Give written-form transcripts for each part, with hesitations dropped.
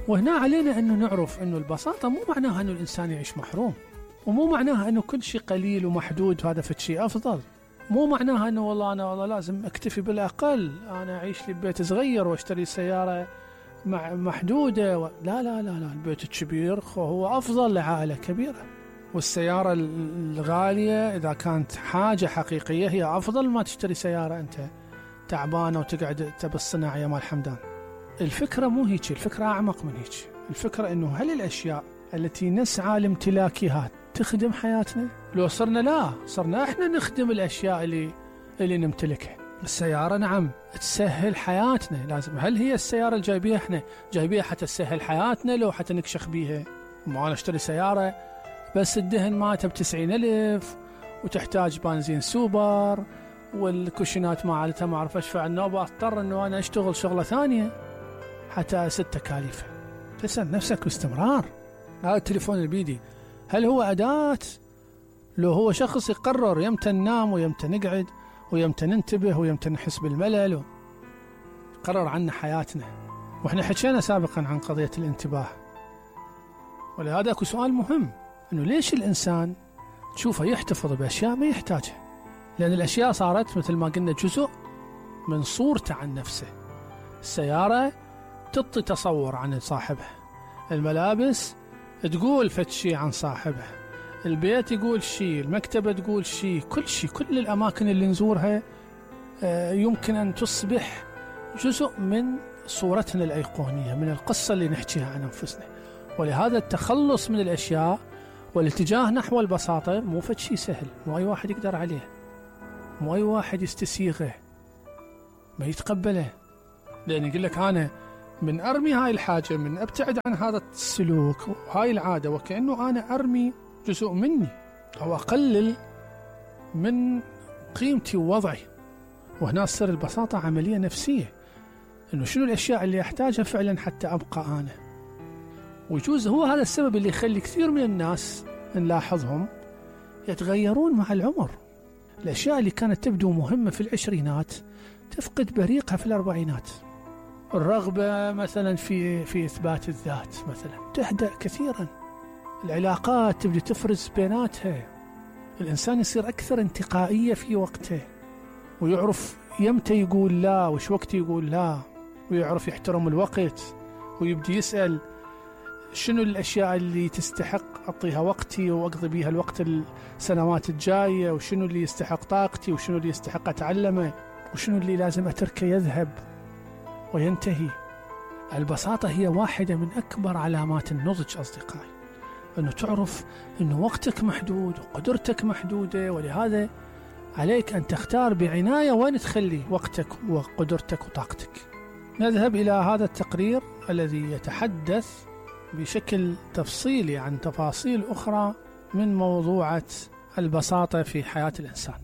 وهنا علينا أنه نعرف أنه البساطة مو معناها أنه الإنسان يعيش محروم، ومو معناها أنه كل شيء قليل ومحدود وهذا فد شيء أفضل، مو معناها أنه والله لازم أكتفي بالأقل، أنا أعيش لي ببيت صغير واشتري سيارة محدودة لا لا لا لا، البيت الكبير هو أفضل لعائلة كبيرة، والسيارة الغالية إذا كانت حاجة حقيقية هي أفضل ما تشتري سيارة أنت تعبانة وتقعد بالصناعة يا مال حمدان. الفكرة مو هيك، الفكرة أعمق من هيك. الفكرة أنه هل الأشياء التي نسعى لامتلاكها تخدم حياتنا؟ لو صرنا إحنا نخدم الأشياء اللي نمتلكها. السيارة نعم تسهل حياتنا، لازم. هل هي السيارة اللي إحنا جايبيها حتى تسهل حياتنا لو حتى نكشخ بيها؟ ما أنا اشتري سيارة بس الدهن مالتها ب90,000 وتحتاج بنزين سوبر والكوشنات مالتها ما أعرف أشفع النوبة، أضطر أنه أنا أشتغل شغلة ثانية حتى أسد تكاليفها. تسأل نفسك باستمرار، هذا التليفون اللي بيدي هل هو أداة؟ لو هو شخص يقرر يمتى ننام ويمتى نقعد ويمتى ننتبه ويمتى نحس بالملل قرر عنا حياتنا. وإحنا حكينا سابقا عن قضية الانتباه، ولهذا أكو سؤال مهم، أنه ليش الإنسان تشوفه يحتفظ بأشياء ما يحتاجها؟ لأن الأشياء صارت مثل ما قلنا جزء من صورته عن نفسه. السيارة تعطي تصور عن صاحبها، الملابس تقول فد شيء عن صاحبها، البيت يقول شيء، المكتبة تقول شيء، كل الأماكن اللي نزورها يمكن أن تصبح جزء من صورتنا الأيقونية، من القصة اللي نحكيها عن أنفسنا. ولهذا التخلص من الأشياء والاتجاه نحو البساطة مو فد شيء سهل، مو أي واحد يقدر عليه، مو أي واحد يستسيغه ما يتقبله. لأن يقول لك أنا من أرمي هاي الحاجة، من أبتعد عن هذا السلوك وهاي العادة، وكأنه أنا أرمي جزء مني أو أقلل من قيمتي ووضعي. وهنا تصير البساطة عملية نفسية، إنه شنو الأشياء اللي أحتاجها فعلا حتى أبقى أنا. ويجوز هو هذا السبب اللي يخلي كثير من الناس نلاحظهم يتغيرون مع العمر. الأشياء اللي كانت تبدو مهمة في العشرينات تفقد بريقها في الأربعينات. الرغبة مثلا في إثبات الذات مثلا تهدأ كثيرا، العلاقات تبدأ تفرز بيناتها، الإنسان يصير أكثر انتقائية في وقته، ويعرف يمتى يقول لا وش وقت يقول لا، ويعرف يحترم الوقت، ويبدأ يسأل شنو الأشياء اللي تستحق أعطيها وقتي وأقضي بيها الوقت السنوات الجاية، وشنو اللي يستحق طاقتي، وشنو اللي يستحق أتعلمه، وشنو اللي لازم أتركه يذهب وينتهي. البساطة هي واحدة من أكبر علامات النضج أصدقائي، أنه تعرف أنه وقتك محدود وقدرتك محدودة، ولهذا عليك أن تختار بعناية وين تخلي وقتك وقدرتك وطاقتك. نذهب إلى هذا التقرير الذي يتحدث بشكل تفصيلي عن تفاصيل أخرى من موضوعة البساطة في حياة الإنسان.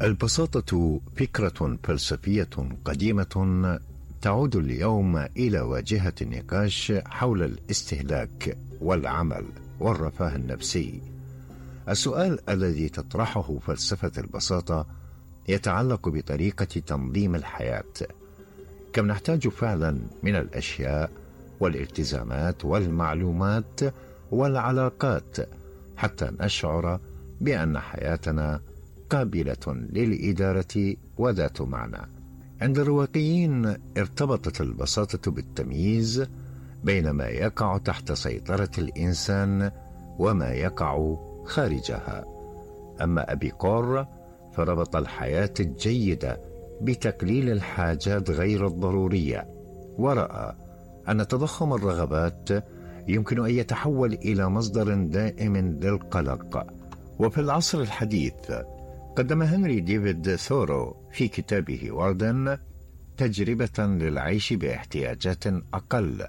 البساطة فكرة فلسفية قديمة تعود اليوم إلى واجهة النقاش حول الاستهلاك والعمل والرفاه النفسي. السؤال الذي تطرحه فلسفة البساطة يتعلق بطريقة تنظيم الحياة. كم نحتاج فعلا من الأشياء والالتزامات والمعلومات والعلاقات حتى نشعر بأن حياتنا قابلة للإدارة وذات معنى. عند الرواقيين ارتبطت البساطة بالتمييز بين ما يقع تحت سيطرة الإنسان وما يقع خارجها. أما أبيقور فربط الحياة الجيدة بتقليل الحاجات غير الضرورية، ورأى أن تضخم الرغبات يمكن أن يتحول إلى مصدر دائم للقلق. وفي العصر الحديث قدم هنري ديفيد ثورو في كتابه واردن تجربة للعيش باحتياجات أقل،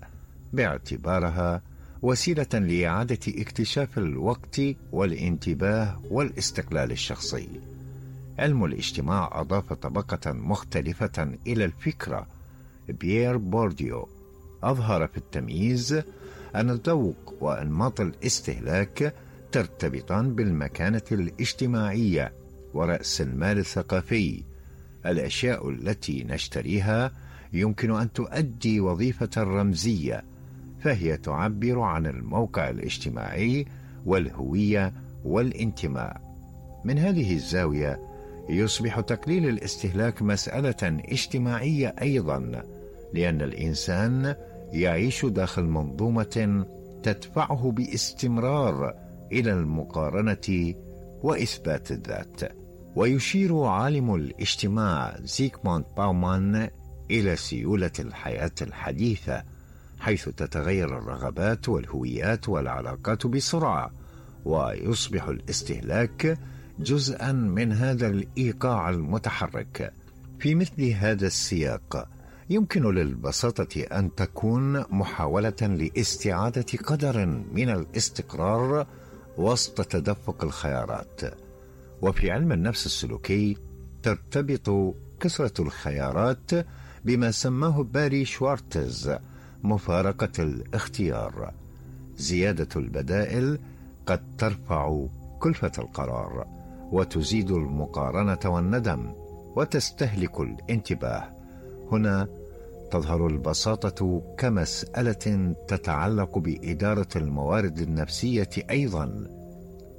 باعتبارها وسيلة لإعادة اكتشاف الوقت والانتباه والاستقلال الشخصي. علم الاجتماع أضاف طبقة مختلفة إلى الفكرة. بيير بورديو أظهر في التمييز أن الذوق وأنماط الاستهلاك ترتبطان بالمكانة الاجتماعية ورأس المال الثقافي. الأشياء التي نشتريها يمكن أن تؤدي وظيفة رمزية، فهي تعبر عن الموقع الاجتماعي والهوية والانتماء. من هذه الزاوية يصبح تقليل الاستهلاك مسألة اجتماعية أيضا، لأن الإنسان يعيش داخل منظومة تدفعه باستمرار إلى المقارنة وإثبات الذات. ويشير عالم الاجتماع زيغموند باومان إلى سيولة الحياة الحديثة، حيث تتغير الرغبات والهويات والعلاقات بسرعة، ويصبح الاستهلاك جزءا من هذا الإيقاع المتحرك. في مثل هذا السياق يمكن للبساطة أن تكون محاولة لاستعادة قدر من الاستقرار وسط تدفق الخيارات. وفي علم النفس السلوكي ترتبط كثرة الخيارات بما سماه باري شوارتز مفارقة الاختيار. زيادة البدائل قد ترفع كلفة القرار وتزيد المقارنة والندم وتستهلك الانتباه. هنا تظهر البساطة كمسألة تتعلق بإدارة الموارد النفسية أيضا.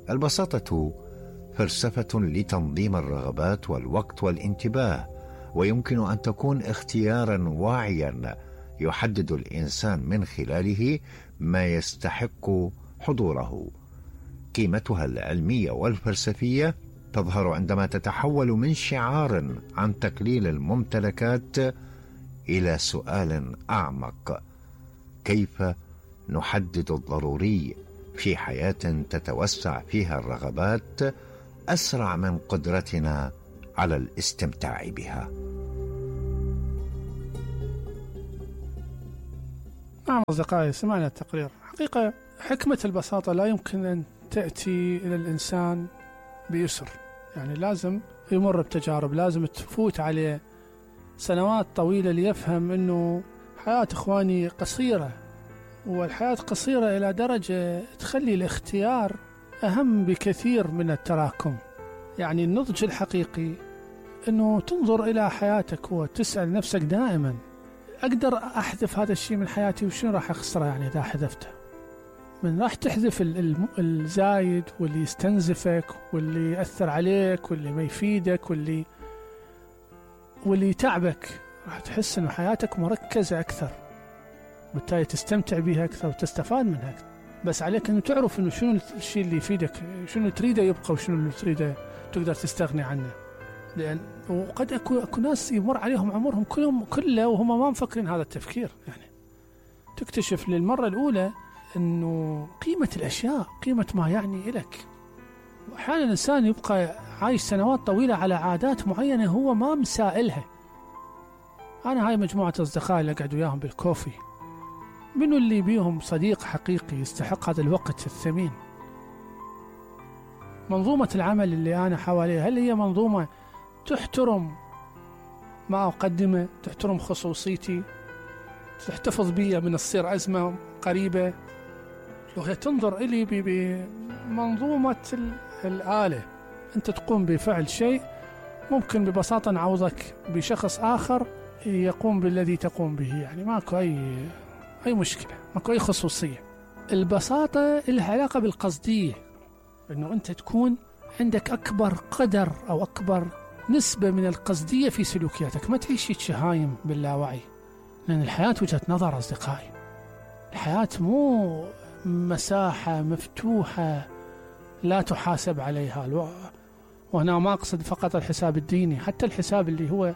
البساطة فلسفة لتنظيم الرغبات والوقت والانتباه، ويمكن أن تكون اختيارا واعيا يحدد الإنسان من خلاله ما يستحق حضوره. قيمتها العلمية والفلسفية تظهر عندما تتحول من شعار عن تقليل الممتلكات إلى سؤال أعمق: كيف نحدد الضروري في حياة تتوسع فيها الرغبات أسرع من قدرتنا على الاستمتاع بها؟ نعم أصدقائي، سمعنا التقرير. حقيقة حكمة البساطة لا يمكن أن تأتي إلى الإنسان بيسر، يعني لازم يمر بتجارب، لازم تفوت عليه سنوات طويلة ليفهم أنه حياة إخواني قصيرة، والحياة قصيرة إلى درجة تخلي الاختيار أهم بكثير من التراكم. يعني النضج الحقيقي أنه تنظر إلى حياتك وتسأل نفسك دائما: أقدر أحذف هذا الشيء من حياتي وشنو راح أخسره يعني إذا حذفته؟ من راح تحذف الزايد واللي يستنزفك واللي يأثر عليك واللي ما يفيدك واللي يتعبك، راح تحس أن حياتك مركزة أكثر، بالتالي تستمتع بها أكثر وتستفاد منها أكثر. بس عليك أنه تعرف أنه شنو الشيء اللي يفيدك، شنو تريده يبقى وشنو اللي تريده تقدر تستغني عنه. لأن وقد أكو ناس يمر عليهم عمرهم كله وهم ما مفكرين هذا التفكير. يعني تكتشف للمرة الأولى أنه قيمة الأشياء، قيمة ما يعني إلك. وأحيانا الإنسان يبقى عايش سنوات طويلة على عادات معينة هو ما مسائلها. أنا هاي مجموعة أصدقاء اللي أقعد وياهم بالكوفي، منو اللي بيهم صديق حقيقي يستحق هذا الوقت الثمين؟ منظومة العمل اللي أنا حواليها، هل هي منظومة تحترم ما أقدمه، تحترم خصوصيتي، تحتفظ بي من الصير أزمة قريبة؟ لو هي تنظر إلي بمنظومة الآلة، أنت تقوم بفعل شيء ممكن ببساطة نعوضك بشخص آخر يقوم بالذي تقوم به، يعني ماكو أي مشكلة، ماكو أي خصوصية. البساطة لها علاقة بالقصدية، أنه أنت تكون عندك أكبر قدر أو أكبر نسبة من القصدية في سلوكياتك، ما تعيش شهايم باللاوعي. لأن الحياة وجهة نظر أصدقائي، الحياة مو مساحة مفتوحة لا تحاسب عليها. وهنا ما أقصد فقط الحساب الديني، حتى الحساب اللي هو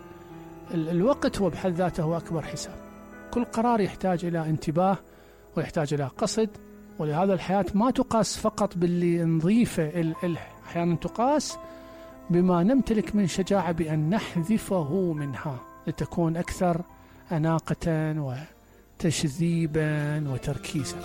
الوقت هو بحد ذاته هو أكبر حساب. كل قرار يحتاج إلى انتباه ويحتاج إلى قصد، ولهذا الحياة ما تقاس فقط باللي نضيفه، أحيانا تقاس بما نمتلك من شجاعة بأن نحذفه منها لتكون أكثر أناقة وتشذيبا وتركيزا.